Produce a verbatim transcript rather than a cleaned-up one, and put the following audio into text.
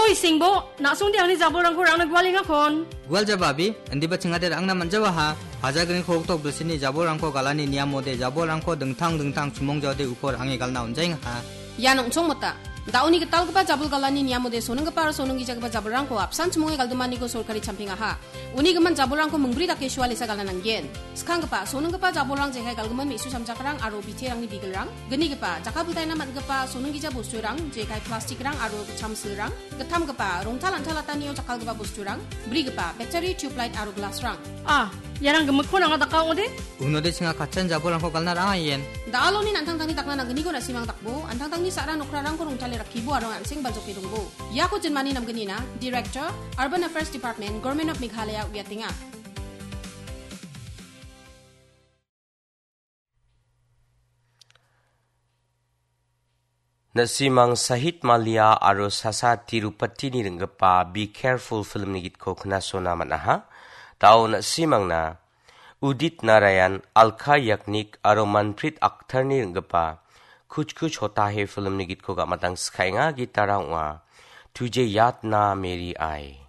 Oi, Singbo, na·songde angni jabolrangko rangna gualengakon. Gualjaba abi, indiba chingade rangna manjawaha. Hajagriko hoktok bilsini jabolrangko galani niamode jabolrangko dingtang dingtang chimong jaode uko range galna onjaengaha. Ian ong·chongmota. Da·oni gitalgipa jabol galani niamode sonenggipa aro sonenggijagipa jabolrangko apsan chimonge galdomaniko sorkari champingaha. Uni gimin jabolrangko mingbri dake sualesa galna nanggen. Skanggipa, sonenggipa jabolrang jekai galgimin me·su samjakrang aro biterangni bigilrang. Gnigipa, jakkalpiltaina man·gipa sonenggija bosturang, jekai plastikrang aro chamsilrang. Gittamgipa, rongtal antalatanio jakkalgipa bosturang. Brigipa, battery, tubelight aro glassrang. Ah, iarang gimikkon anga daka ong·ode? Unode chinga katchan jabolrangko galna rang·a ien. Da·aloni an·tangtangni dakna nanggniko na·simang dakbo, an·tangtangni sa·ra nokrarangko rongtale rakkibo aro an·seng baljoke dongbo. Iako jinmani namgnina, Director, Urban Affairs Department, Government of Meghalaya uiatenga. Na·simang Sahit Mallya aro Sasa Tirupatini ring·gipa Be Careful filmni gitko knasona man·aha. Da·o na·simangna Udit Narayan, Alka Yagnik aro Manpreet Akhtarni ring·gipa Kuch Kuch Hota Hai filmni gitko gamatang skaenga. Gitara ong·a Tujhe Yaad Na Meri Aaye.